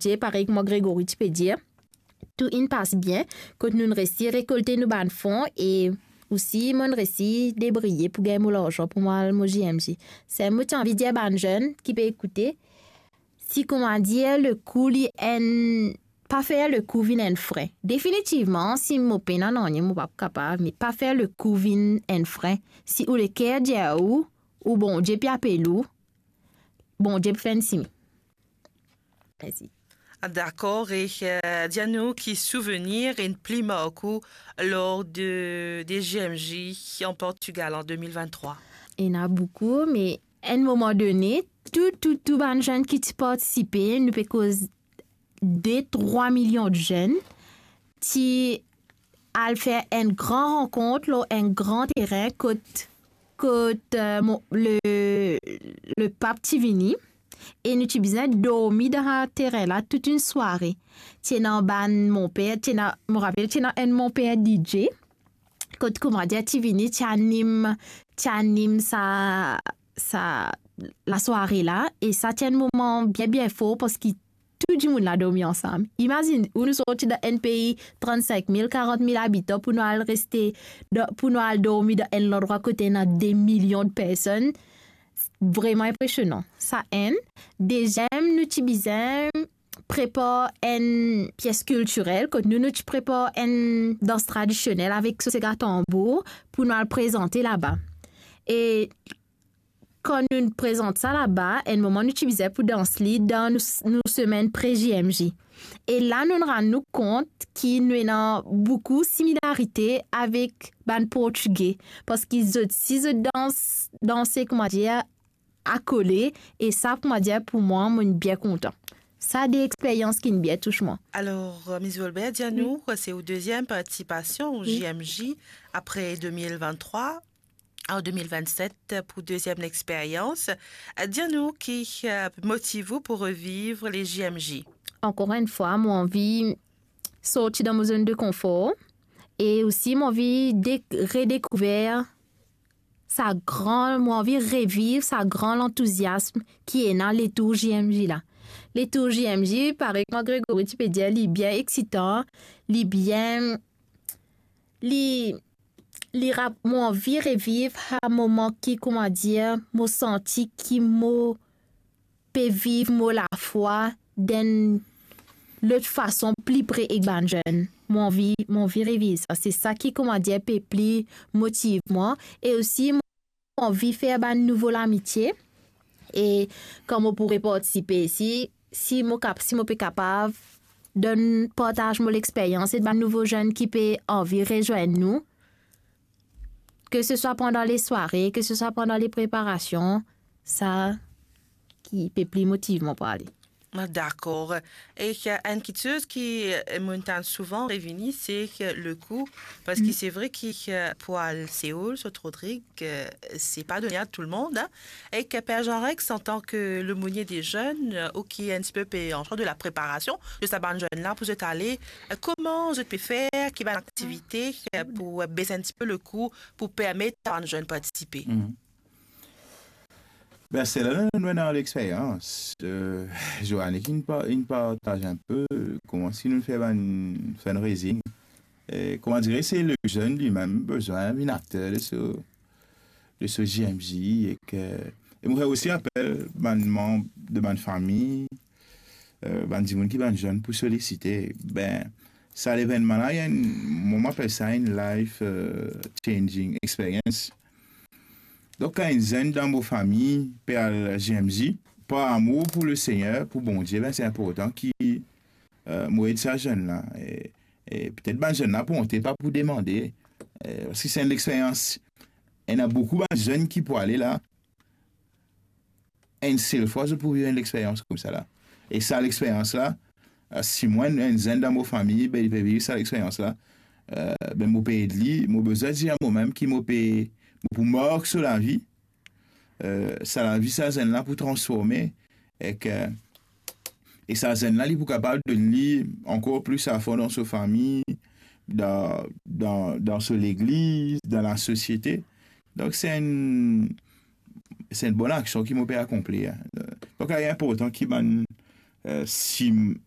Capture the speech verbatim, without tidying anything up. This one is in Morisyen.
Bondie, parey kouma Grégory ti pe dir, tou inn pas bien, kot nou'nn resi rekolte nou bann fon e osi mo'nn resi debriye pou gagn mo larzan pou mo al mo G M J. Sa mo ti anvi dir bann zenn ki pe ekoute, si kouma dir, lekou li enn, pa fer lekou vinn enn fren. Definitivman, si mo pena nanye, mo pa pou kapav, me pa fer lekou vinn enn fren. Si ou leker dir ou, ou Bondie pe apel ou, Bondie pou fer enn simin. Mersi. Ah, dakor, e, eh, dir nou ki souvenir inn pli mark ou lor de, de G M J an Portigal an de mil vinn-trwa? Ena boukou, me enn moman done, tou, tou, tou bann zenn ki ti partisipe, nou pe koz de, trwa milion zenn, ti al fer enn gran rankont lor enn gran terin kot, kot, eh, mo-, le, le pap ti vini, e nou ti bizin dormi dan terin la tout enn sware. Ti ena bann monper, ti ena, mo rapel, ti ena enn monper D J, kot kouma dir ti vini, ti anim, ti anim sa, sa lasware la, e sa ti enn moman bien, bien for, parski tou dimoun la dormi ansam. Imazinn ou, nou sorti dan enn pei trant-sink mil, karant mil abitan pou nou al reste dan, pou nou al dormi dan enn landrwa kot ena de milion de personn. Vreman inpresionan. Sa enn. Deziem, nou ti bizin prepar enn pies kiltirel, kot nou, nou ti prepar enn dans tradisionel avek sos ek tanbour pou nou al prezante laba. E kan nou prezant sa laba, enn moman nou ti bizin pou dans li dan nou, nou semenn pre G M J. E la nou rann nou kont ki nou ena boukou similarite avek bann Portige, parski zot si zot dans, danse, kouma dir, akole, e sa, kouma dir, pou mwa, mo bien kontan. Sa de experyans ki bien tous mwa. Alor, euh, Miss Volbert, dir nou, se ou deziem partisipasion o Wi. G M J apre de mil vinn-trwa, an de mil vinn-set pou deziem experyans. Dir nou ki, euh, motiv ou pou reviv le G M J? Ankor enn fwa, mo anvi sorti dan mo zone de konfor e osi mo anvi de-, redekouver sa gran, mo anvi reviv sa gran lantouziasm ki ena letour G M J la. Letour G M J, parey kouma Grégory ti pe dir, li bien eksitan, li bien, li, li rap-, mo anvi reviv sa moman ki, kouma dir, mo santi ki mo pe viv mo lafwa dan lot fason pli pre ek bann zenn. Mo anvi, mo anvi reviv sa. Se sa ki, kouma dir, pe pli motiv mwa. E osi, mo anvi fer bann nouvo lamitie. E kan mo pou repartisipe, si, si mo kap-, si mo pe kapav donn, partaz mo lexperyans e bann nouvo zenn ki pe anvi rezwenn nou, ke se swa pandan lesware, ke se swa pandan lepreparasion, sa ki pe pli motiv mwa pou ale. Ah, dakor. E, euh, enn kiksoz ki, euh, mo'nn tann souvan revini, se, euh, lekou, parski Mm. se vre ki, euh, pou al Seoul, Sainte-Rodrigue, euh, se pa done a tou le mond, hein. E, euh, Per Jean Rex, antan ke lomonie de zenn, euh, ou ki enn tipe pe an charz de lapreparasion de sa bann zenn la pou zot ale, euh, kouma zot pe fer, ki bann aktivite, euh, pou, euh, bes enn tipe lekou, pou permet sa bann zenn partisipe? Mhm. Ben, se la nou, nou ena lexperyans. Euh, Joanne ki inn pa-, inn partaz enn pe kouma si nou fer bann fundraising. Euh, kouma dir, se lezenn limem bizin vinn akter de so, de so G M J ek, euh, e mo fer osi apel bann manb de bann fami, euh, bann dimoun ki bann zenn pou solisite. Ben, sa levennman la, li enn, mo, mo apel sa enn life, euh, changing experience. Donk, kan enn zenn dan mo fami pe al G M J, par amour pou Lesegner, pou Bondie, ben, se inportan ki, euh, mo ed sa zenn la. E, e petet bann zenn la pou onte, pa pou demande, euh, parski se enn lexperyans. Ena boukou bann zenn ki pou ale la, enn sel fwa zot pou viv enn lexperyans koumsa la. E sa lexperyans la, euh, si mwa, enn zenn dan mo fami, ben, li pe viv sa lexperyans la, euh, ben, mo pe ed li, mo bizin dir a momem ki mo pe, mo pou mark so lavi, euh, sa lavi sa zenn la pou transforme, ek, euh, e sa zenn la, li pou kapav donn li ankor plis lafor dan so fami, dan, dan, dan so legliz, dan lasosiete. Donk, se enn, se enn bon aksion ki mo pe akonpli, hein. Donk, li inportan ki bann, euh, si m-,